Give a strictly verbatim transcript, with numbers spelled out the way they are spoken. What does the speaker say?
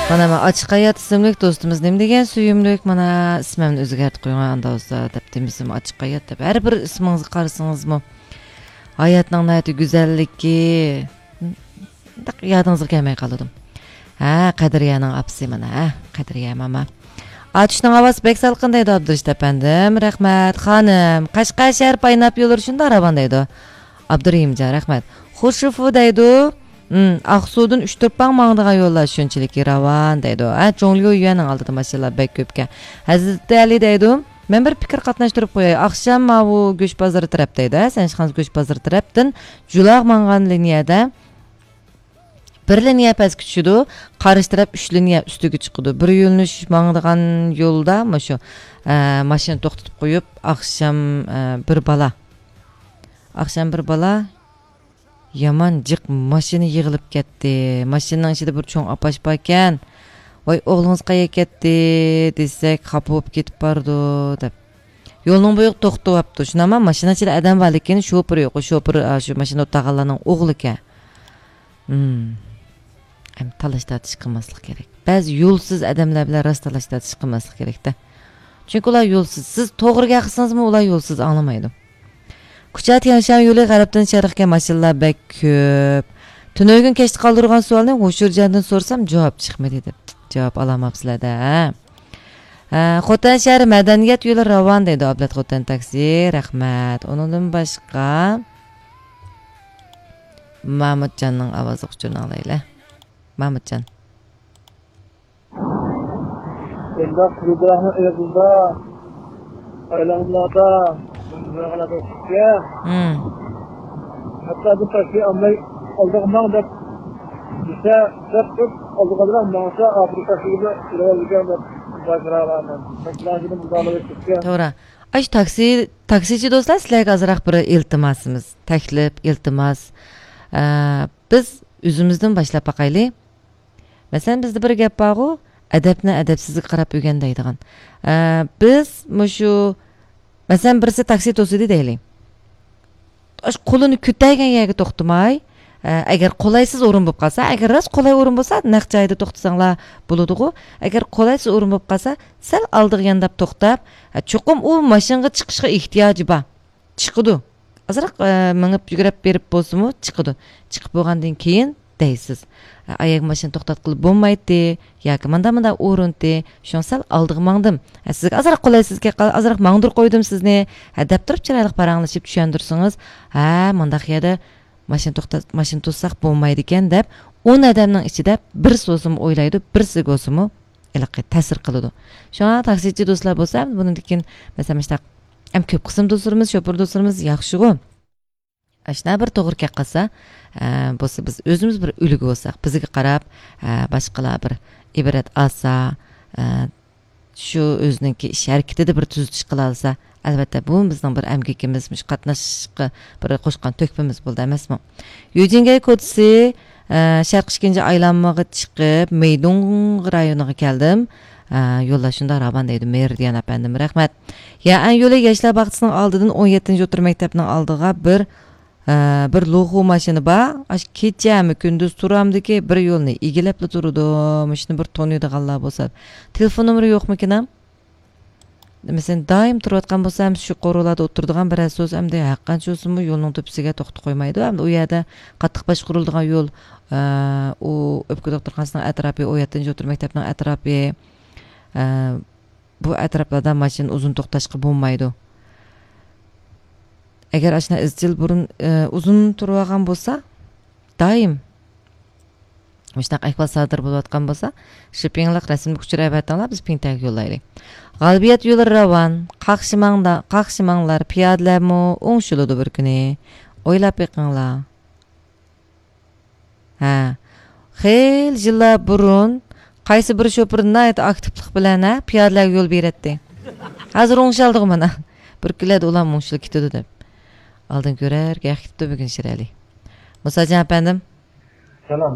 مانا، مانا ئاچچىق ھايات ئىسىملىك دوستىمىز نېمە دېگەن سۆيۈملۈك، مانا، ئىسمىمنى ئۆزگەرتىپ قويۇڭ ئاندا بولسا دەپ دېمىسىمۇ، ئاچچىق ھايات دەپ. ھەر بىر ئىسمىڭىزغا قارىسىڭىزمۇ، ھاياتنىڭ ناھايىتى گۈزەللىكى، يادىڭىزغا كەلمەي قالىدۇ. ھە، قەدرىيەنىڭ ئاپىسى مانا، ھە، قەدرىيە ماما. ئاتۇشنىڭ ئاۋازى بەك سالقىن دەيدۇ ئابدۇرېشىت ئەپەندىم، رەھمەت. خانىم، قەشقەر شەھەر پايناپ يوللىرى شۇنداق راۋان دەيدۇ. ئابدۇرېھىمجان، رەھمەت. خۇشۇفۇ دەيدۇ، ھىم، ئاقسۇدىن ئۈچ تۇرپان ماڭىدىغان يوللار شۇنچىلىكى راۋان دەيدۇ. ھە، جۇڭليۇ يۈەننىڭ ئالدىدا ماشىنىلار بەك كۆپكەن. ھەزرىتى ئەلى دەيدۇ، مەن بىر پىكىر قاتناشتۇرۇپ قوياي. ئاخشام ماۋۇ گۆش بازىرى تەرەپ دەيدۇ، ھە، سەنشىخانىز گۆش بازىرى تەرەپتىن جۇلاغا ماڭغان لىنىيەدە بىر لىنىيە پەسكە چۈشىدۇ، قارشى تەرەپ ئۈچ لىنىيە ئۈستىگە چىقىدۇ. بىر يۆنىلىش ماڭىدىغان يولدا مۇشۇ، ئە، ماشىنا توختىتىپ قويۇپ، ئاخشام، ئە، بىر بالا، ئاخشام بىر بالا يامان جىق ماشىنا يىغىلىپ كەتتى. ماشىنىنىڭ ئىچىدە بىر چوڭ ئاپاش باركەن. ۋاي، ئوغلىڭىز قەيەرگە كەتتى دېسەك، خاپا بولۇپ كېتىپ بارىدۇ دەپ. يولنىڭ بويىغا توختىۋاپتۇ. شۇنداقما ماشىنا ئىچىدە ئادەم بار، لېكىن شوپۇر يوق. شوپۇر، ئا، شۇ ماشىنا ئولتۇرغانلارنىڭ ئوغلىكەن. ھىم. ئەمدى تالاش تارتىش قىلماسلىق كېرەك. بەزى يولسىز ئادەملەر بىلەن راست تالاش تارتىش قىلماسلىق كېرەكتە. چۈنكى ئۇلار يولسىز. سىز توغرا گەپ قىلسىڭىزمۇ ئۇلار يولسىز، ئاڭلىمايدۇ. كۇچا تيەنشان يولى غەربتىن شەرققە ماشىنىلار بەك كۆپ. تۈنۈگۈن كەچتە قالدۇرغان سوئالنى ھوشۇرجاندىن سورىسام جاۋاب چىقمىدى دەپ. جاۋاب ئالالماپسىلەر-دە، ھە؟ ھە، خوتەن شەھىرى مەدەنىيەت يولى راۋان دەيدۇ ئابلەت خوتەن تاكسى. رەھمەت. ئۇنىڭدىن باشقا مامۇتجاننىڭ ئاۋازلىق ئۇچۇرىنى ئاڭلايلى. مامۇتجان. بۇنداق گۈلدۈراخنىڭ ئېغىزىدا، ئايلانمىلاردا، بۇنداق چىقتى. ھىم. ھەتتا بۇ تاكسى ئالماي ئالدىغا ماڭ دەپ دېسە، دەپ تۇرۇپ ئالدىغا بىلەن ماڭسا، ئاخىرى تاكسىگە ئېلىۋالىدىكەن دەپ بايقىرالاردىن. تاكسىلارنى مۇنداق ئېلىپ كەتكەن. توغرا. ئاش تاكسى، تاكسىچى دوستلار، سىلەرگە ئازراق بىر ئىلتىماسىمىز، تەكلىپ، ئىلتىماس. ئە، بىز ئۆزىمىزدىن باشلاپ باقايلى. مەسىلەن، بىزدە بىر گەپ بارغۇ، ئەدەپنى ئەدەپسىزگە قاراپ ئۆگەن دەيدىغان. ئە، بىز مۇشۇ، مەسىلەن، بىرسى تاكسى توسىدى دەيلى. ئاشۇ قولىنى كۆتەرگەن يەرگە توختىماي، ئە، ئەگەر قولايسىز ئورۇن بولۇپ قالسا، ئەگەر راست قولاي ئورۇن بولسا، نەق جايدا توختىساڭلار بولىدىغۇ. ئەگەر قولايسىز ئورۇن بولۇپ قالسا، سەل ئالدىغا يانداپ توختاپ، ئە، چوقۇم ئۇ ماشىنىغا چىقىشقا ئېھتىياجى بار. چىقىدۇ. ئازراق، ئە، مېڭىپ يۈگرەپ بېرىپ بولسىمۇ چىقىدۇ. چىقىپ بولغاندىن كېيىن دەيسىز، ئە، ئايەگە ماشىنا توختاتقىلى بولمايتتى ياكى ماندا ماندا ئورۇنتى، شۇڭا سەل ئالدىغا ماڭدىم. ئە، سىزگە ئازراق قولايسىزكەن، ئازراق ماڭدۇرۇپ قويدۇم سىزنى، ھە، دەپ تۇرۇپ چىرايلىق پاراڭلىشىپ چۈشەندۈرسىڭىز، ھە، مانداق يەردە ماشىنا توختات-، ماشىنا توسساق بولمايدىكەن دەپ، ئون ئادەمنىڭ ئىچىدە بىرسى بولسىمۇ ئويلايدۇ، بىرسىگە بولسىمۇ ھېلىقى تەسىر قىلىدۇ. شۇڭا تاكسىچى دوستلار بولسا، بۇنىڭدىن كېيىن، مەسىلەن، مۇشۇنداق ئەم كۆپ قىسىم دوستلىرىمىز، شوپۇر دوستلىرىمىز ياخشىغۇ. ئاشۇنداق بىر توغرا گەپ قىلسا، ئە، بولسا بىز ئۆزىمىز بىر ئۈلگە بولساق، بىزگە قاراپ، ئە، باشقىلار بىر ئىبرەت ئالسا، ئە، شۇ ئۆزىنىڭكى ئىش ھەرىكىتىدە بىر تۈزىتىش قىلالىسا، ئەلۋەتتە، بۇ بىزنىڭ بىر ئەمگىكىمىز، مۇشۇ قاتناشقا بىر قوشقان تۆھپىمىز بولدى ئەمەسمۇ؟ يۈجىنگەي كوچىسى، ئە، شەرقىي ئىككىنچى ئايلانمىغا چىقىپ، مېيدۇڭ رايونىغا كەلدىم. ئە، يوللار شۇنداق راۋان دەيدۇ، مېرىدىيان ئەپەندىم، رەھمەت. يەئەن يولى ياشلار باغچىسىنىڭ ئالدىدىن ئون يەتتىنچى ئوتتۇرا مەكتەپنىڭ ئالدىغا بىر، ئە، بىر لوخۇ ماشىنا بار. ئاشۇ كېچەمۇ كۈندۈز تۇرامدىكى بىر يولنى ئىگىلەپلا تۇرىدۇ. مۇشۇنى بىر تونۇيدىغانلار بولسا. تېلېفون نومۇرى يوقمىكىن؟ مەسىلەن، دائىم تۇرۇۋاتقان بولسا، ھەم شۇ قورۇلاردا ئولتۇرىدىغان بىرەرسى بولسا، ئەمدى ھەرقانچە بولسىمۇ يولنىڭ تۆپىسىگە توختىتىپ قويمايدۇ. ئەمدى ئۇ يەردە قاتتىق باشقۇرۇلىدىغان يول، ئە، ئۇ ئۆپكە دوختۇرخانىسىنىڭ ئەتراپى، ئون يەتتىنچى ئوتتۇرا مەكتەپنىڭ ئەتراپى، ئە، بۇ ئەتراپلاردا ماشىنا ئۇزۇن توختاشقا بولمايدۇ. ئەگەر ئاشۇنداق ئىزچىل بۇرۇن، ئە، ئۇزۇن تۇرۇۋالغان بولسا، دائىم مۇشۇنداق ئەھۋال سادىر بولۇۋاتقان بولسا، شىپپىڭلىق رەسىملىك ئۇچۇر ئەۋەتىڭلار، بىز پىڭتەگە يوللايلى. غالىبىيەت يولى راۋان، قاقشىماڭدا-، قاقشىماڭلار، پىيادىلەرمۇ ئوڭشىلىدۇ بىر كۈنى. ئويلاپ بېقىڭلار. ھە. خېلى يىللار بۇرۇن قايسى بىر شوپۇر ناھايىتى ئاكتىپلىق بىلەن، ھە، پىيادىلەرگە يول بېرەتتى. ھازىر ئوڭشالدىغۇ مانا. بىر كۈنلەردە ئۇلارمۇ ئوڭشىلىپ كېتىدۇ دەپ. ئالدىن كۆرەر گەپ كېتىپتۇ بۈگۈن شىرئەلى. مۇساجان ئەپەندىم. سالام.